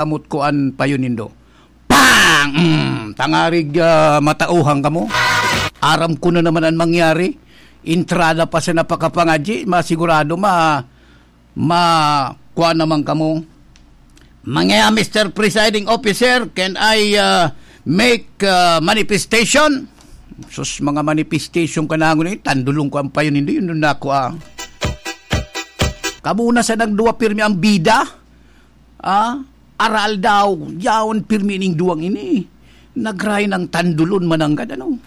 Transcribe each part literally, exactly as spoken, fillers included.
Kamot ko an payo nindo. Pang! Mm, tangarig, ah, matauhan kamo. Aram ko na naman an mangyari. Entrada pa sa napakapangadyi, masigurado ma-, ma-, kuha naman kamo. Mga Mister Presiding Officer, can I, ah, make, ah, manifestation? Sus, mga manifestation ka na, ngunit tandulong ko ang payo nindo, yun na ako, ah. Kamo na sa nagduwa pirmi ang bida. Ah, aral daw, yaon pirmi ning duwang ini. Nagray ng tandulon mananggad, ano?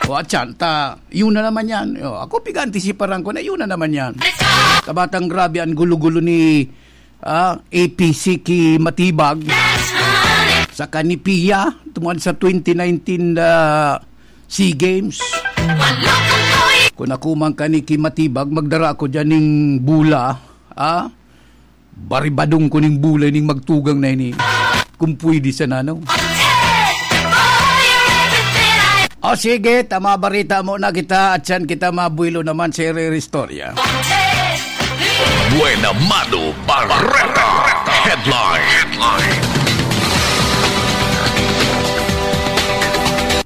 O, atyan, ta, yun na naman yan. O, ako, pig-antisiparan ko na yun na naman yan. Kabatang grabe ang gulo-gulo ni, ah, A P C ki Matibag. Sa Kanipia, tungod sa twenty nineteen, ah, SEA Games. Kung ako man kani ki Matibag, magdara ako dyan ning bula, ah, baribadong ko ning bulay ning magtugang na ini. Kung pwede sana, no? O sige, tama barita mo na kita at siyan kita mabuelo naman sa iri-iri istorya. Buena Mano Bareta Headline.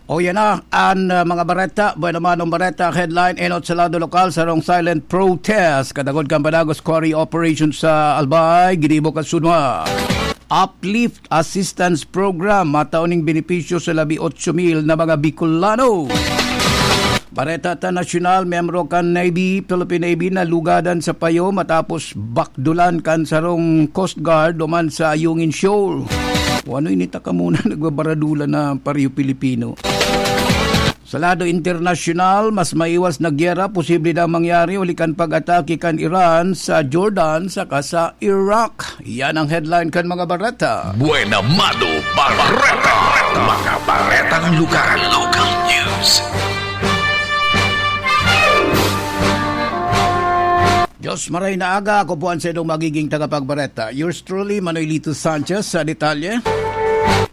O yan na, an, uh, mga bareta, Buena Mano Bareta Headline, enot sa lado lokal, sarong silent protest. Katagod kan Padagos Quarry Operation sa Albay, ginibo kan SONMA. Uplift Assistance Program, matao ning benepisyo sa labi otso mil na mga Bicolano. Bareta ta nasyonal, miyembro kan Navy, Philippine Navy, nalugadan sa payo matapos bakdulan kan sarong Coast Guard duman sa Ayungin Shoal. O ano ini ta ka muna nagbabaradulan na pareho Pilipino? Sa lado internasyonal, mas maiwas na gyera posible na mangyari huli kan pag-atake kan Iran sa Jordan saka sa Iraq. Yan ang headline kan mga bareta. Buena Mano Bareta. Mga baretang lugar. Local news. Diyos, maray na aga. Ako po ang saindong magiging tagapagbareta. Yours truly, Manoy Lito Sanchez sa detalye.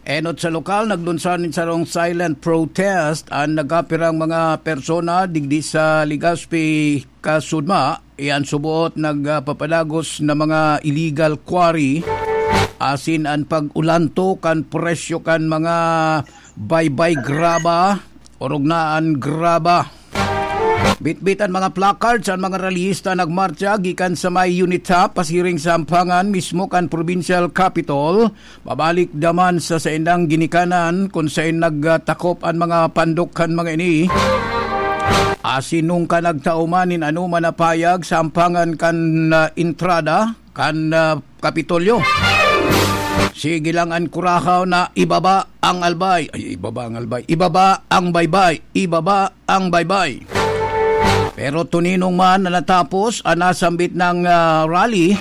Enot sa lokal, naglunsad nin sarong silent protest an nagkapirang mga persona digdi sa Legazpi, Kasudma. Iyan suboot nagpapadagos na mga illegal quarry, asin an pag-ulanto kan presyo kan mga baybay graba, orog na an graba. Bitbit an mga placards an mga rallyista nagmartsa gikan sa may UNITA pasiring sa ampangan mismo kan provincial capitol, pabalik daman sa saindang ginikanan kun saen nagtakop an mga pandok kan mga ini. Asin nung ka nagtao man nin anoman na payag sa ampangan kan, ah, entrada, kan, ah, Kapitolyo. Sige lang an kurahaw na ibaba ang albay. Ay, ibaba ang albay. Ibaba ang baybay. Ibaba ang baybay. Pero tuninong man na natapos an nasambit nang, ah, rally,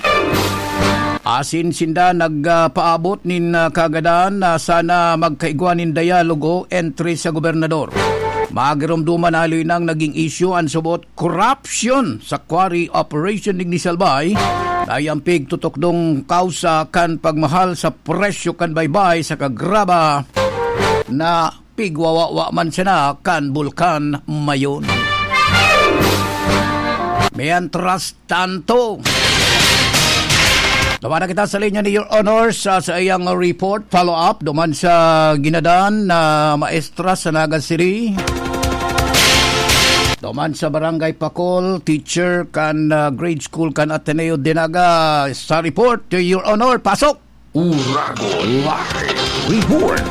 asin sinda nagpaabot nin, ah, kagadan na sana magkaigwa nin dialogo entre sa gobernador. Magiromdoman na haloy nang naging isyu an subot korapsyon sa quarry operation digdi sa Albay, na iyan pigtutukdong kausa kan pagmahal sa presyo kan baybay saka graba na pigwawawa man sana kan Bulkan Mayon. Mientras tanto, tawanan kita sa linya ni Your Honor sa, sa iyang report, follow-up, duman sa ginadan na maestra sa Naga City. Duman sa Barangay Pakol, teacher kan, ah, grade school kan Ateneo de Naga. Sa report, Your Honor, pasok! Uragon Live Report.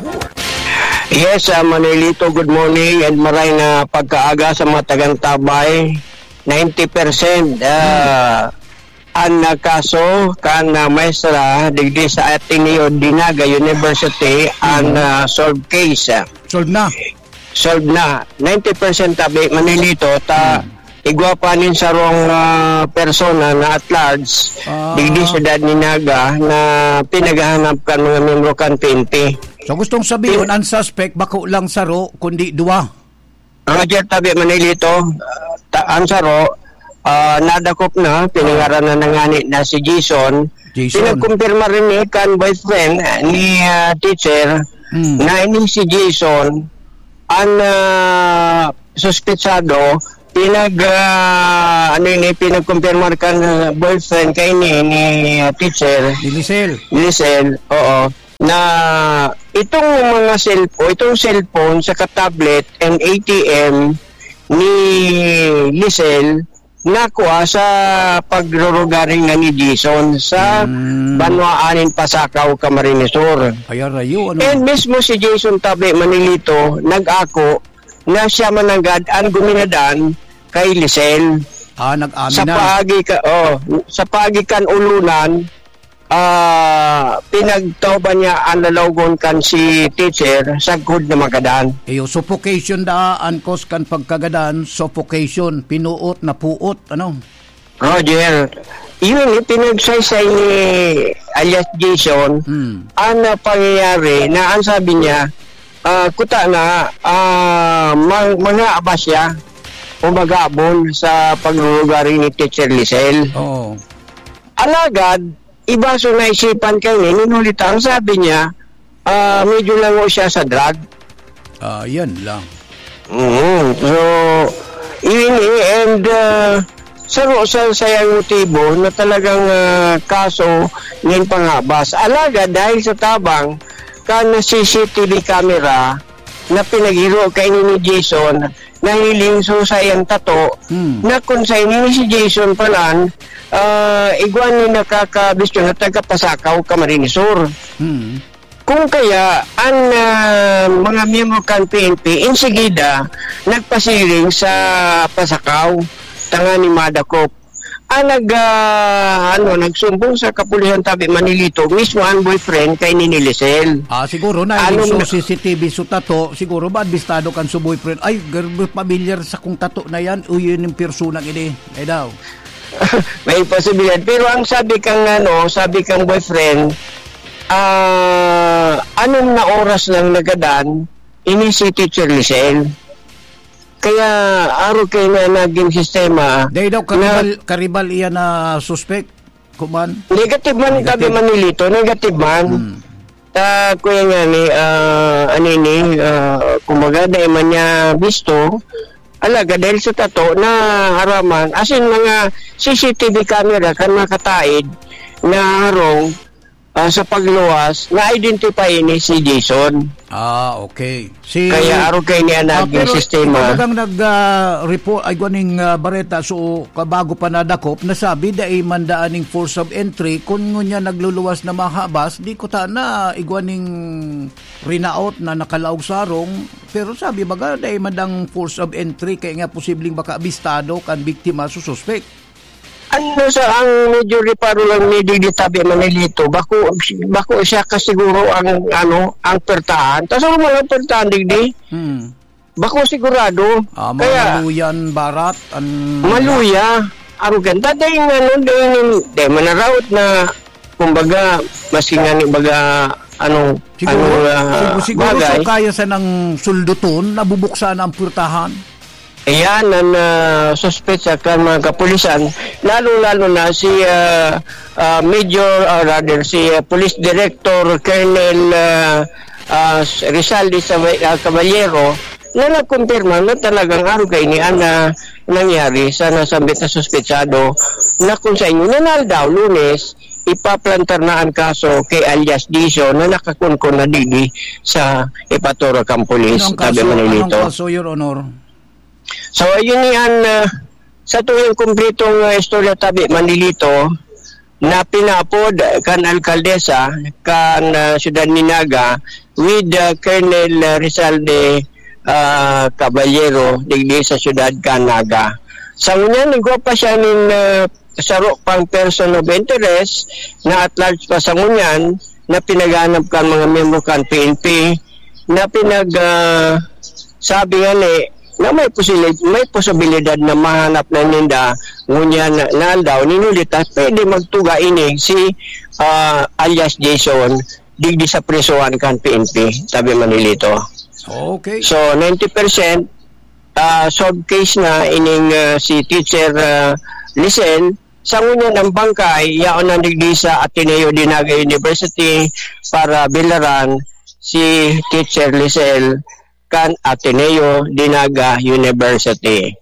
Yes, ah, Manolito, good morning and maray na pagkaaga sa mga tagantabay. Ninety percent, ah, an, ah, kaso kan, ah, maestra digdi sa Ateneo de Naga University, an, ah, solved case, ah. Solve na. Solve na. Ninety percent tabi, Manolito, ta igwa pa nin sarong, ah, persona na at large, Ah. digdi syudad ni Naga na pinaghahanap kan mga miyembro kan P N P. So, gustong sabihin, ang suspect bako lang saro, kundi duwa. Roger, tabi, Manolito, ta-, ang saro, ah, nadakop na, pinangaranan na ngani na si Jason. Jason. Pinagkumpirma rin ni kan boyfriend, ah, ni, ah, teacher, Hmm. na ini si Jason, an, ah, suspetsado, pinag, ah, ano ini, pinagkumpirmar kan, ah, boyfriend kay ni, ni, ah, teacher. Ni Lisel. Ni Lisel, oo. na itong mga cellphone, itong cellphone saka tablet and A T M ni Lisel nakua sa pagrurugaring na ni Jason sa Hmm. banwaan nin Pasacao, Camarines Sur. Ay, arayo, ano? And mismo si Jason Tabe Manilito nag-ako na siya mananggad ang guminadan kay Lisel. Ah, nag-amin Sa na. paagi ka, oh, sa paagi kan ulunan, ah, pinagtauban niya ang lalawogon kan si teacher sagkod na magadan. Iyo, suffocation daa an cause kan pagkagadan, suffocation, pinuot, napuot, ano? Roger, yun, ipinagsaysay ni alias Jason Hmm. ang, ah, pangyayari na ang sabi niya, ah, kuta na, ah, mang-, mga abas siya o magabon sa paglugaring ni Teacher Lisel. Oo. Alagad, iba so naisipan kaini, ninulita ang sabi niya, ah, medyo lango siya sa drug. Ah, yan lang. Oo. So, ini, and, ah, saro sa sayang motibo na talagang, ah, kaso nin pangabas. Alagad dahil sa tabang kan C C T V camera na pinaghiro kaini ni Jason, nahiling so sa iyang tato, Hmm. na kung sa ini si Jason palan, ah, igwa ni nakakabistyo na taga Pasacao, Camarines Sur. Hmm. Kung kaya, ang, ah, mga miyembro kan P N P, insigida, nagpasiring sa Pasacao, tanganing madakop. Ang nag, ah, ano, nagsumbong sa kapulisan tabi Manilito, mismo ang boyfriend kay ni Lisel. Ah, siguro na, Ano yung so na- C C T V so tato, siguro ba, bistado kan so boyfriend? Ay, gar-, pamilyar sa kung tato na yan, o yun yung persona ini. Ay daw. May posibilidad. Pero ang sabi kang, ano, sabi kang boyfriend, ah, anom na oras lang nagadan, ini si Teacher Lisel. Kaya, aro kay na naging sistema Dahil daw na karibal, karibal iyan na suspect, kuman? Negative man, Negative. tabi Manilito, negative man. Hmm. Ta, kuya nga ni, ah, ano ini, ah, kumbaga, dai man niya bisto, alaga dahil sa tato na haraman, as in, mga C C T V camera kan makataid na harong, ah, sa pagluwas, na-identify ni si Jason. Ah, okay. Si Kaya aro kay niya Ah, naging pero sistema. ikaw bagang nag, ah, report, ay, guaning, ah, bareta, so, kabago pa nadakop, nasabi, dai man daan ning force of entry, kun ngunyan nagluluwas na mahabas, di ko ta na igwa ning rinaot na nakalaog sarong, pero sabi, baga, dai man dang force of entry, kaya nga posibleng baka abistado kan biktima sa suspek. Ano sa ang medyo reparo lang ni digdi tabi Manilito, bako, bako siya kasiguro ang, ano, ang pertahan. Tas ano man ang pertahan digdi? Hmm. Bako sigurado. Ah, mga Kaya maluyan, barat, an- Maluya. Arugan. Tadaing ano, daing, dahil manaraot na, kumbaga, maski nga ni baga, anong, Siguro, anong, ah, sigu-, siguro bagay. so kaya sanang sulduton, nabubuksan ang purtahan. Ayan ang, ah, suspetsa kan mga kapulisan, lalo-lalo na si, ah, ah, Major, ah, rather, si, ah, Police Director Colonel, ah, ah, Rizal de Saba-, ah, Caballero, na nagkumpirma na talagang araw kaini ang, ah, nangyari sa nasambit na suspetsado na kung sa inyo, na aldaw, Lunes, ipaplantar na ang kaso kay alias Dizon na nakakunkon na digdi sa Epatoracan Police, Anong tabi kaso? Manilito. Anong kaso, Your Honor? So, ayun ni an, ah, sa tuyang kumpletong, ah, istorya tabi, Manilito, na pinaapod kan alkaldesa kan, ah, Siyudad ni Naga with, ah, Colonel, ah, Rizal de, ah, Caballero, digdi sa Siyudad kan Naga. Sa ngunyan, igwa pa siya nin, ah, saro pang person of interest na at large pa sa ngunyan na pinaghanap kan mga miyembro kan P N P na pinag, ah, sabi nga ni na may posili-, may posibilidad na mahanap na ninda ngunyan na, na aldaw, ninulita, pwede magtuga ini si, ah, alias Jason digdi sa prisohan kan P N P, tabi Manilito. Okay. So, ninety percent, ah, solved case na ining, ah, si Teacher, ah, Lisel. Sa ngunyan ang bangkay, yaon na digdi sa Ateneo de Naga University para bilaran si Teacher Lisel kan Ateneo de Naga University.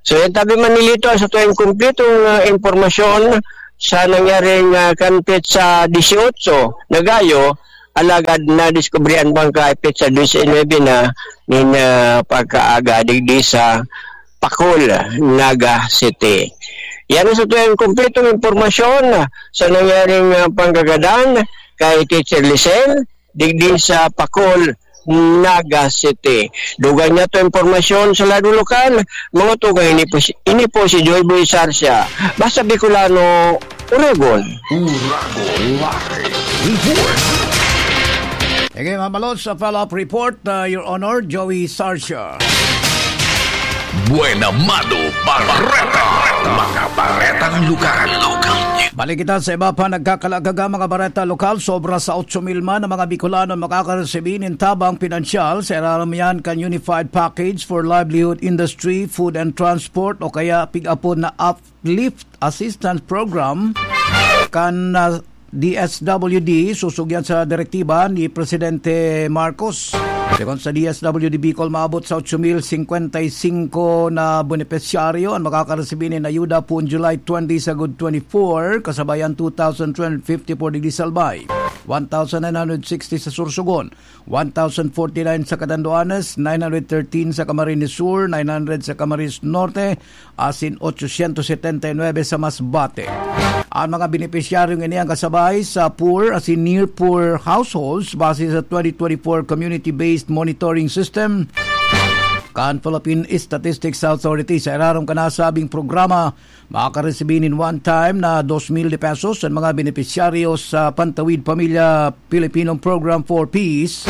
So, yan tabi Manilito, sa tuwing kumpletong, ah, impormasyon sa nangyaring, ah, kan petsa dieciocho na gayo, Alagad nadiskubre an bangkay petsa disinuebe na nin, ah, pagkaaga digdi sa Pacol, Naga City. Yan ang sa tuyang kompletong impormasyon sa nangyaring, ah, panggagadan kay Teacher Lisel digdi sa Pacol, Naga City. Dugang niya to impormasyon sa ladong lokal, mga tugang, ini po si, ini po si Joy Boy Sarsia. Basta Bicolano, Uragon. Uragon Live Report. Okay, mga malods, sa follow-up report, uh, Your Honor, Joey Sarsia. Buena Mano Bareta. Mga baretang lokal. Balik kita sa iba pa nagkakalagaga, mga bareta lokal. Sobra sa otso mil man ang mga Bicolano makakaresibi nin tabang pinansyal. Sa irarom yan kan Unified Package for Livelihood Industry, Food and Transport o kaya pig-apod na Uplift Assistance Program kan, ah, D S W D, susugyan sa direktiba ni Presidente Marcos. Segun sa D S W D Bicol, maabot sa otso mil singkwenta y singko na benepisyaryo an makakaresibi nin ayuda poon July twenty sagod twenty-four, kasabay an two thousand three hundred fifty-four digdi sa Albay, one thousand nine hundred sixty sa Sorsogon, one thousand forty-nine sa Catanduanes, nine hundred thirteen sa Camarines Sur, nine hundred sa Camarines Norte, asin ochocientos setenta y nuebe sa Masbate. An mga benepisyaryong ini an kasabay sa poor asin near poor households base sa twenty twenty-four Community-Based Monitoring System kan Philippine Statistics Authority. Sa irarom kan nasabing programa, makakaresibi nin one-time na dos mil de pesos an mga benepisyaryo sa Pantawid Pamilya Filipino Program for Peace,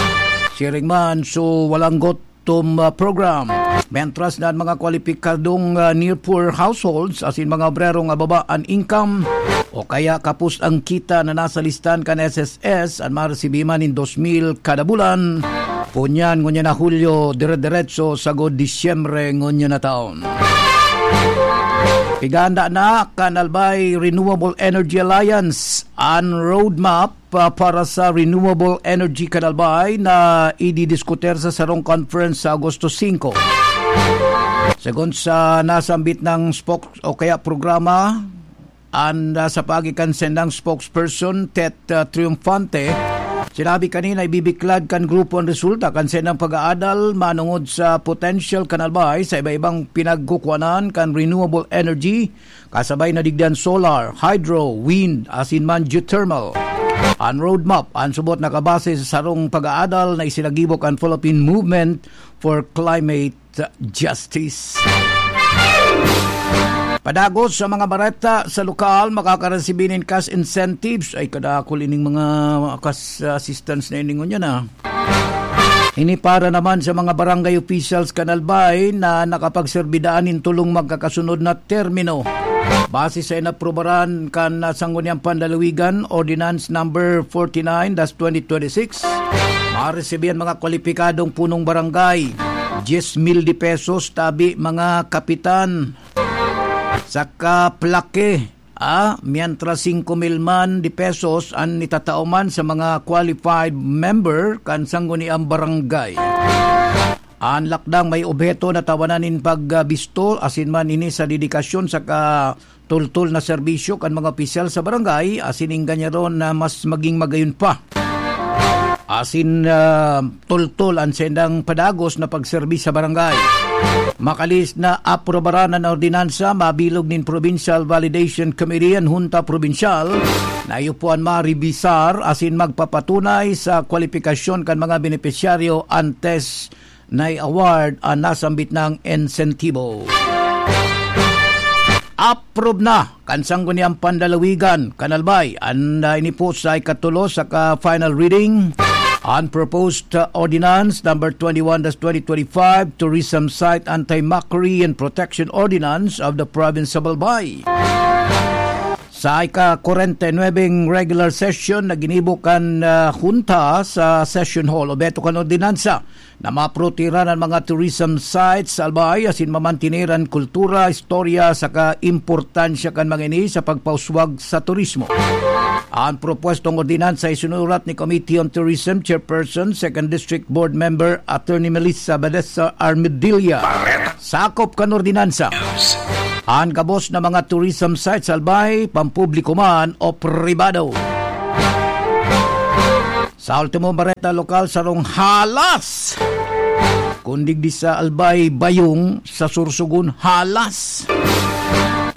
siring man sa Walang Gutom, ah, Program. Mientras na an mga kwalipikadong, ah, near poor households asin mga obrerong ababa an income o kaya kapos ang kita na nasa listahan kan S S S, an maresibi man nin dos mil kada bulan, punyan ngunyan na Hulyo, dire-diretso sagod Disyembre ngunyan na taon. Piganda na kan Albay Renewable Energy Alliance an roadmap pa, para sa renewable energy kan Albay na ididiskutir sa sarong conference sa Agosto singko. Segun sa nasambit na spok-, o kaya programa, an, ah, sa paagi kan saindang spokesperson, Tet, ah, Triunfante, sinabi kanina, ibibiklad kan grupo an resulta kan saindang pag-aadal manongod sa potential kan Albay sa iba-ibang pinagkukuanan kan renewable energy, kasabay na digdi an solar, hydro, wind, asin man geothermal. An roadmap, an subot, nakabase sa sarong pag-aadal na isinagibo kan Philippine Movement for Climate Justice. Padagos sa mga bareta sa lokal, makakaresibi nin cash incentives. Ay, kadakul ining mga cash assistance na ini ngunyan, ah. Ini para naman sa mga barangay officials kan Albay na nakapagserbi daan nin tolong magkakasunod na termino. Base sa inaprubaran kan Sangguniang Panlalawigan, Ordinance Number forty-nine dash twenty twenty-six, maresibi an mga kwalipikadong punong barangay, diyes mil de pesos, tabi mga kapitan, saka plake, ah, mientras singko mil man de pesos an itatao man sa mga qualified member kan sangguniang barangay. An lakdang may obheto na tawanan nin pagbisto asin man ini sa dedikasyon saka tultol na serbisyo kan mga opisyal sa barangay asin ingganyaron na mas maging magayon pa. Asin, ah, tultol an saindang padagos na pagserbi sa barangay. Makalihis na aprubaran an ordinansa, mabilog nin Provincial Validation Committee an Hunta Probinsyal na iyo po an marebisar asin magpapatunay sa kwalipikasyon kan mga benepisyaryo antes na i-award an nasambit na insentibo. Approve na kan Sangguniang Panlalawigan kan Albay an, ah, ini po sa ikatulo saka final reading, an proposed, ah, ordinance number twenty-one dash twenty twenty-five, Tourism Site Anti-Mockery and Protection Ordinance of the Province of Albay. Sa ika-kwarenta y nuwebeng regular session na ginibo kan, ah, Hunta sa Session Hall, obheto kan ordinansa na maprotehiran an mga tourism sites sa Albay asin mamantener an kultura, istorya saka importansya kan mga ini sa pagpauswag sa turismo. An propwestong ordinansa isinurat ni Committee on Tourism Chairperson, Second District Board Member, Attorney Melissa Badesa Armedilla. Sakop kan ordinansa an gabos na mga tourism sites sa Albay, pampubliko man o pribado. Sa ultimo bareta lokal, sarong halas. Kun digdi sa Albay, Bayong, sa Sorsogon, halas.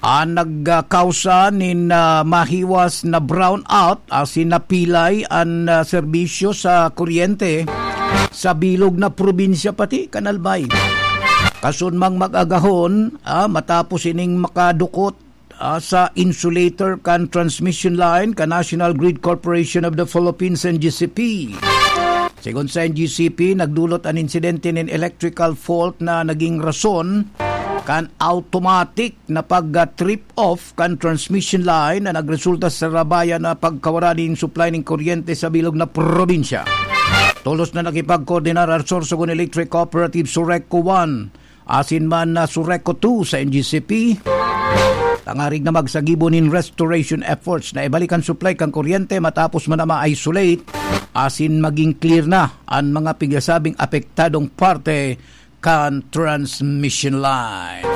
An nagkausa nin, ah, mahiwas na brownout asin napilay an, ah, serbisyo sa kuryente sa bilog na probinsya pati kan Albay. Kasunmang mag-agahon, ah, matapos ining makadukot, ah, sa insulator kan transmission line kan National Grid Corporation of the Philippines, N G C P. Sigon sa N G C P, nagdulot an insidente nin electrical fault na naging rason kan automatic na pag-trip off kan transmission line na nagresulta sa rabayan na pagkawara nin supply nin kuryente sa bilog na probinsya. Tolos na nakipagkoordinar an Sorsogon Electric Cooperative, Sureco one, asin man na Sureco two sa N G C P, tangarig na magsagibo nin restoration efforts na ibalik an supply kan kuryente matapos man na ma-isolate asin maging clear na an mga pigasabing apektadong parte kan transmission line.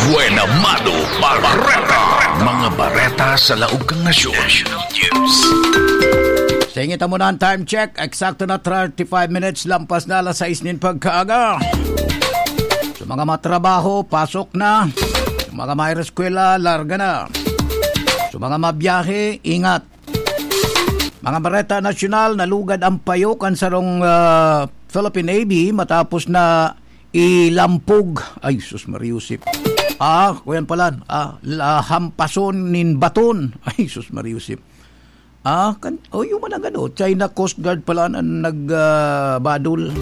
Buena Mano Bareta. Mga bareta sa laog kan nasyon. National News. Sa ingit mo na ang time check, eksakto na thirty-five minutes lampas na alas sais nin pagkaaga. Sa mga matrabaho, pasok na. Sa mga may eskwela, larga na. Sa mga mabiyahe, ingat. Mga bareta nasyonal, nalugad ang payo kan sarong, ah, Philippine Navy matapos na ilampog. Ay, sus, Maria Josep. Ah, kuyan pala. Ah, la, hampason nin baton. Ay, sus, Maria Josep. Ah, kan, oh, yung mga gano. China Coast Guard pala na nag, ah, badol.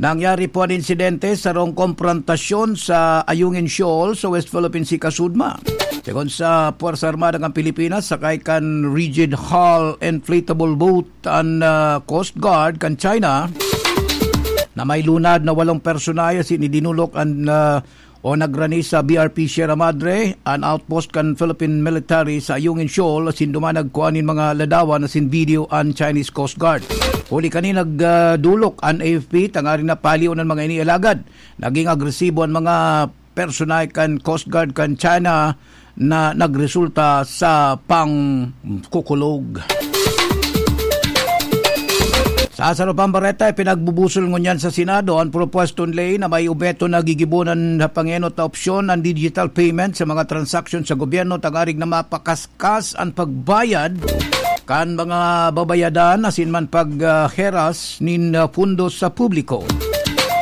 Nangyari po an insidente sa sarong komprontasyon sa Ayungin Shoal sa West Philippine Sea, Kasudma. Segun sa Puwersa Armada kan Pilipinas, sakay kan rigid hull inflatable boat an, ah, Coast Guard kan China na may lunad na walong personahe asin idinulok an, ah, o nagrani sa B R P Sierra Madre, an outpost kan Philippine military sa Ayungin Shoal, asin duman nagkua nin mga ladawan asin video an Chinese Coast Guard. Huli kani nagdolok an A F P, tangaring napaliw an mga ini, alagad naging agresibo an mga personahe kan Coast Guard kan China na nagresulta sa pangkukulog. Sa saro pang bareta, ipinagbubusol ngunyan sa Senado an propuestong ley na may obheto na gigibonan sa pangenot na opsyon an digital payment sa mga transaksyon sa gobyerno, tangarig na mapakaskas an pagbayad kan mga babayadan asin man pag, ah, heras nin, ah, pundos sa publiko.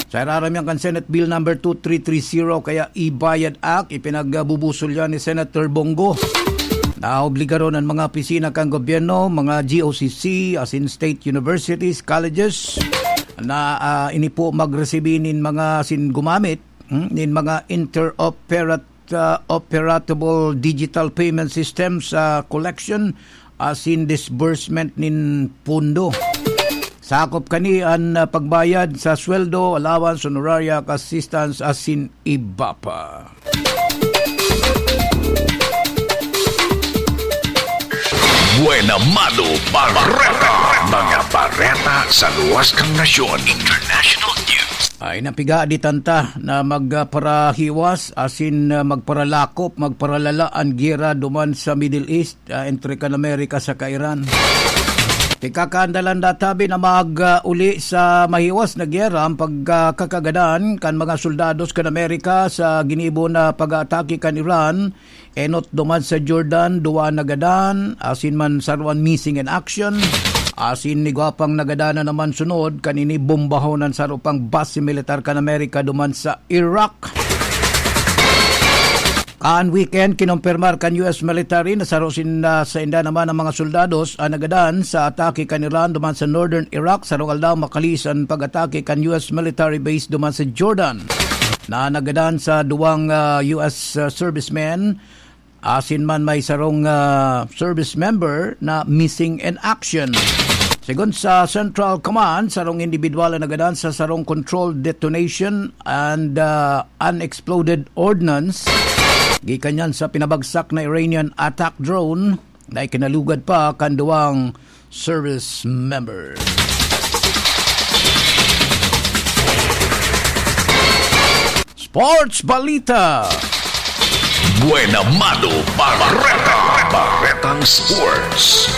Sa irarom yan kan Senate Bill number two three three zero, kaya e-Bayad Act, ipinagbubusol yan ni Senator Bong Go. Naobligaron an mga opisina kan gobyerno, mga G O C C, asin state universities, colleges, na, ah, ini po magresibi nin mga asin gumamit, hmm, nin mga interoperat-, ah, operable digital payment system sa collection asin disbursement nin pondo. Sakop kani an, ah, pagbayad sa sweldo, allowance, honoraria, assistance, asin iba pa. Buena Mano Bareta. Mga bareta sa luwas kan nasyon. International News. Ay, napiga di tanta na magparahiwas asin, ah, magparalakop, magparalala an giyera duman sa Middle East, ah, entre kan Amerika saka Iran. Pikakaandalan da tabi na mag, ah, uli sa mahiwas na giyera an pagkakagadan kan mga soldados kan Amerika sa ginibo na pag-aatake kan Iran. Enot duman sa Jordan, duwa nagadan, asin man sarwan missing in action. Asin igwa pang nagadan na naman sunod kan ini bombahon an saro pang base militar kan Amerika duman sa Iraq. Kan weekend, kinompirmar kan U S military na saro sin-, na sainda naman ang mga soldados an nagadan sa atake kan Iran duman sa northern Iraq. Sarong aldaw makaliis an pag-atake kan U S military base duman sa Jordan na nagadan sa duwang, ah, U S, ah, servicemen. Asin man may sarong, ah, service member na missing in action. Segun sa Central Command, sarong indibidwal an nagadan sa sarong controlled detonation and, ah, unexploded ordnance gikan yan sa pinabagsak na Iranian attack drone na ikinalugad pa kan duwang service member. Sports Balita. Buena Mano Bareta. Baretang Sports.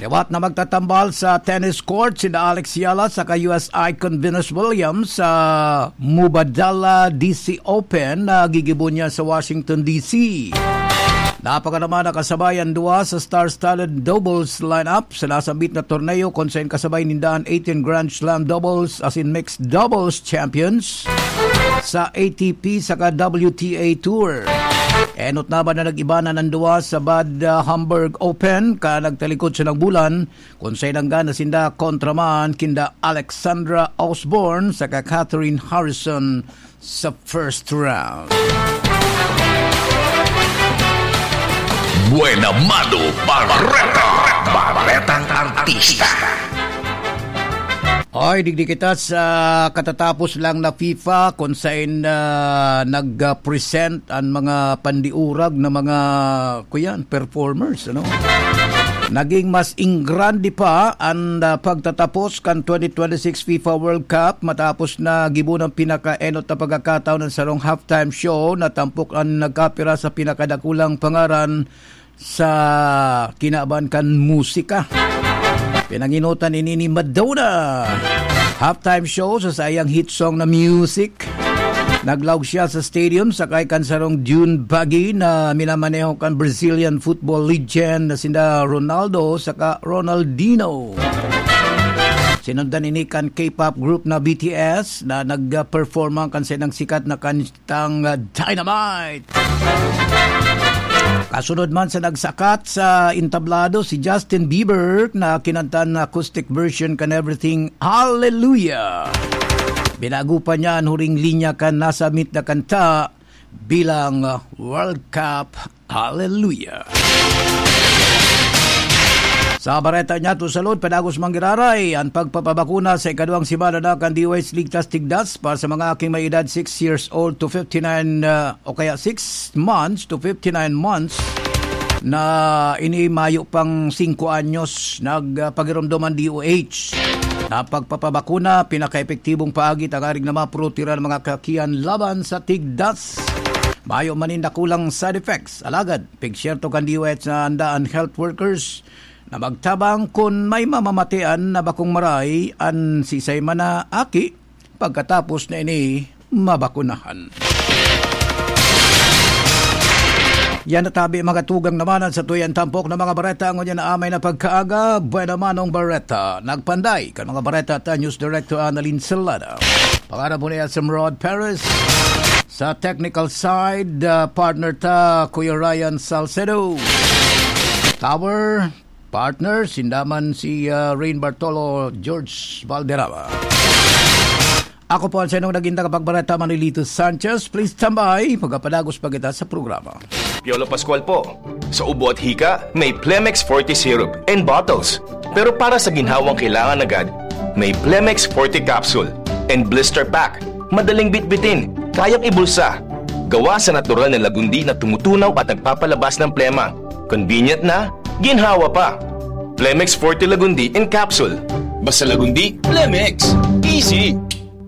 Liwat na magtatambal sa tennis court sina Alex Yala saka U S icon Venus Williams sa Mubadala D C Open na gigibo niya sa Washington, D C. Napaka naman nakasabay ang duwa sa star-studded doubles lineup sa nasambit na torneo, kung saan kasabay ninda an eighteen Grand Slam doubles, as in mixed doubles champions sa A T P saka W T A Tour. Enot naman na nag-iba na nang duwa sa Bad, ah, Homburg Open, ka nagtalikod sa nagbulan, kung saan nanggana sinda kontra man kinda Alexandra Osborne saka Catherine Harrison sa first round. Buena Mano Bareta. Baretang Artista. Oy, digdi kita sa katatapos lang na FIFA, kung saan, ah, nag-present ang mga pandiurag na mga, kuyan, performers, ano? Naging mas ingrande pa ang, ah, pagtatapos kan twenty twenty-six FIFA World Cup matapos na gibo ng pinakaenot na pagkakataon ng sarong halftime show na tampok ang nagkapira sa pinakadakulang pangaran sa kinaban kan musika. Pinanginutan ini ni Madonna. Halftime show sa saiyang hit song na Music. Naglaog siya sa stadium sakay kan sarong dune buggy na minamaneho kan Brazilian football legend na sinda Ronaldo saka Ronaldinho. Sinundan ini kan K-pop group na B T S na nag-perform kan saindang sikat na kantang, ah, Dynamite. Kasunod man sa nagsakat sa entablado si Justin Bieber na kinanta na acoustic version kan Everything Hallelujah. Binago pa niya an huring linya kan nasambit na kanta bilang World Cup Hallelujah. Sa bareta niya, to salud, padagos manggiraray ang pagpapabakuna sa ikaduwang semana na kan D O H Ligtas Tigdas para sa mga aking may edad six years old to fifty-nine, uh, o kaya six months to fifty-nine months na ini mayo pang singko anyos. Nagpagiromdom ang D O H na pagpapabakuna, pinakaepektibong paagi tangarig na maprotehiran ang mga kakian laban sa tigdas. Mayo man nin dakulang side effects. Alagad, pigsyerto kan D O H na handa an health workers na magtabang kun may mamamatean na bakong maray an sisay man na aki pagkatapos na ini mabakunahan. Yan na tabi, mga tugang, naman sa tuyang tampok na mga bareta. Ngunyan na amay na pagkaaga, Buena Manong Bareta. Nagpanday kan mga bareta ta News Director Annalyn Salada. Pangarap mo na yan sa Rod Perez. Sa technical side, ah, partner ta, Kuya Ryan Salcedo. Tower, partner, sinda man si, ah, Rain Bartolo, George Valderrama. Ako po ang sainong naging tagapagbareta, Manolito Sanchez. Please tambay, magapadagos pa kita sa programa. Piolo Pascual po. Sa ubo at hika, may Plemex Forte Syrup and bottles. Pero para sa ginhawang kailangan agad, may Plemex Forte Capsule and Blister Pack. Madaling bitbitin, kayang ibulsa. Gawa sa natural na lagundi na tumutunaw at nagpapalabas ng plema. Convenient na, ginhawa pa. Plemex Forte Lagundi in Capsule. Basta Lagundi, Plemex. Easy.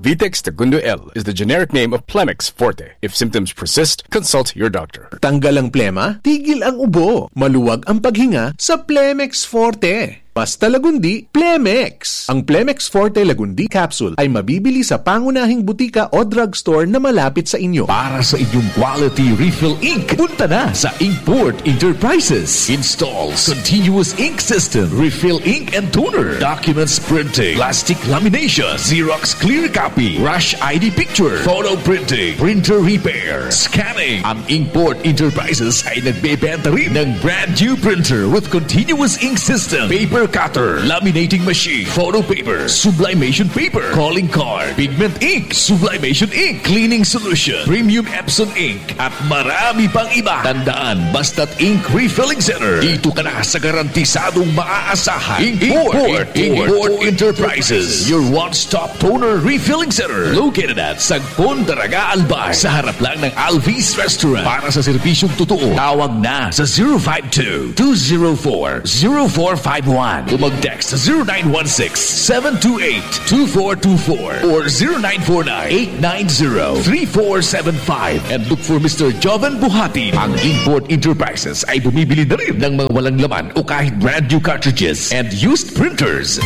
Vitex Tagundo L is the generic name of Plemex Forte. If symptoms persist, consult your doctor. Tanggal ang plema, tigil ang ubo, maluwag ang paghinga sa Plemex Forte. Basta Lagundi, Plemex! Ang Plemex Forte Lagundi Capsule ay mabibili sa pangunahing butika o drugstore na malapit sa inyo. Para sa inyong quality refill ink, punta na sa Inkport Enterprises. Installs continuous ink system, refill ink and toner, documents printing, plastic lamination, Xerox clear copy, rush I D picture, photo printing, printer repair, scanning. Ang Inkport Enterprises ay nagbebenta rin ng brand new printer with continuous ink system, paper cutter, laminating machine, photo paper, sublimation paper, calling card, pigment ink, sublimation ink, cleaning solution, premium Epson ink, at marami pang iba. Tandaan, basta't ink refilling center, dito ka na sa garantisadong maaasahan. Inkport, Inkport, Inkport Enterprises, your one-stop toner refilling center, located at Sagpon, Daraga, Albay, sa harap lang ng Alvis Restaurant. Para sa serbisyong totoo, tawag na sa zero five two, two zero four, zero four five one. O mag-text sa zero nine one six, seven two eight, two four two four or zero nine four nine, eight nine zero, three four seven five and look for Mister Joven Buhati. Ang Import Enterprises ay bumibili na rin ng mga walang laman o kahit brand new cartridges and used printers.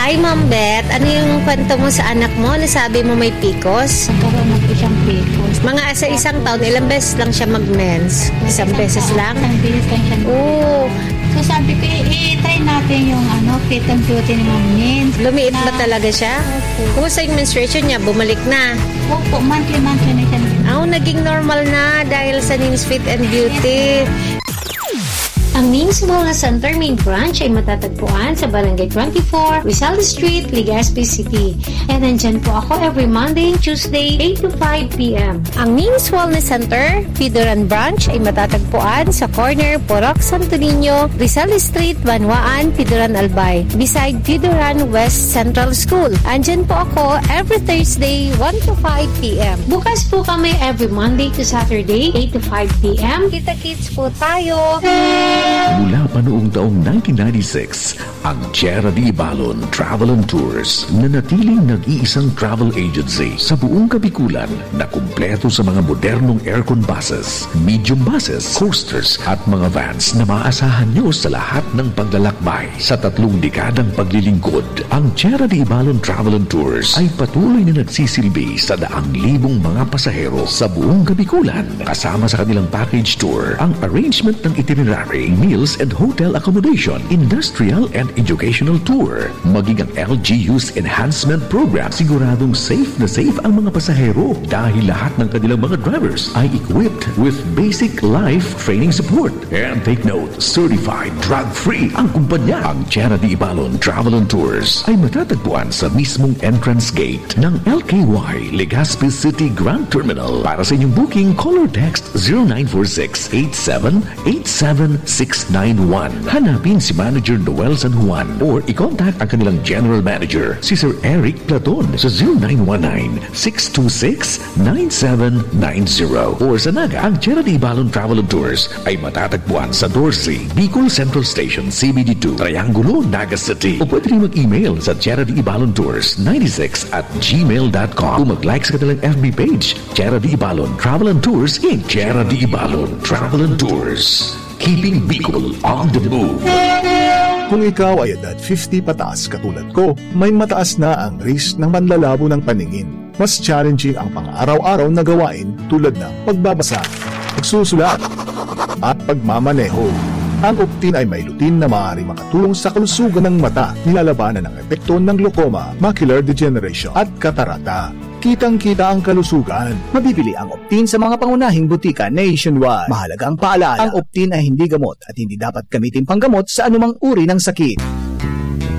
Hi, Ma'am Beth. Ano yung kwento mo sa anak mo? Nasabi mo may picos? Nagkaroon na po siyang picos. Mga sa isang taon, ilang beses lang siya mag-mens? Isang beses lang? Isang beses lang siya. Oo. So sabi ko, i-try natin yung ano, fit and beauty ni Ma'am Nins. Lumiit ba Na- talaga siya? Opo. Kumusta yung menstruation niya? Bumalik na? Opo, monthly-monthly na siya. Aw, naging normal na dahil sa Nins Fit and Beauty. Ang Nins Wellness Center main branch ay matatagpuan sa Barangay twenty-four, Rizal Street, Legazpi City. And nandyan po ako every Monday and Tuesday, eight to five p.m. Ang Nins Wellness Center, Pidoran Branch ay matatagpuan sa corner Purok Santo Niño, Rizal Street, Banwaan, Pidoran Albay, beside Pidoran West Central School. Andyan po ako every Thursday, one to five p.m. Bukas po kami every Monday to Saturday, eight to five p.m. Kita-kits po tayo! Mula pa noong taong nineteen ninety-six, ang Tierra de Ibalon Travel and Tours nanatiling nag-iisang travel agency sa buong Kabikulan na kumpleto sa mga modernong aircon buses, medium buses, coasters at mga vans na maaasahan nyo sa lahat ng paglalakbay. Sa tatlong dekadang paglilingkod, ang Tierra de Ibalon Travel and Tours ay patuloy na nagsisilbi sa daang libong mga pasahero sa buong Kabikulan. Kasama sa kanilang package tour ang arrangement ng itinerary, meals and hotel accommodation, industrial and educational tour, maging ang L G U's enhancement program. Siguradong safe na safe ang mga pasahero dahil lahat ng kanilang mga drivers ay equipped with basic life training support. And take note, certified drug-free ang kumpanya. Ang Tierra de Ibalon Travel and Tours ay matatagpuan sa mismong entrance gate ng L K Y Legazpi City Grand Terminal. Para sa inyong booking, call or text zero nine four six eight seven eight seven six nine one. Hanapin si Manager Noel San Juan or i-contact ang kanilang General Manager, si Sir Eric Platon, sa zero nine one nine six two six nine seven nine zero. Or sa Naga, ang Tierra de Ibalon Travel and Tours ay matatagpuan sa Dorsey, Bicol Central Station, C B D two, Triangulo, Naga City. O pwede rin mag-email sa Tierra de Ibalon Tours ninety-six at gmail dot com o mag-like sa kanilang F B page, Tierra de Ibalon Travel and Tours, Inc. Tierra de Ibalon Travel and Tours. Keeping Bicol on the move. Kung ikaw ay edad fifty pataas katulad ko, may mataas na ang risk ng panlalabo ng paningin. Mas challenging ang pang-araw-araw na gawain tulad ng pagbabasa, pagsusulat, at pagmamaneho. Ang Optin ay may lutein na maaaring makatulong sa kalusugan ng mata, nilalabanan ang epekto ng glaucoma, macular degeneration, at katarata. Kitang-kita ang kalusugan. Mabibili ang Optin sa mga pangunahing butika nationwide. Mahalagang paalala, ang Optin ay hindi gamot at hindi dapat gamitin panggamot sa anumang uri ng sakit.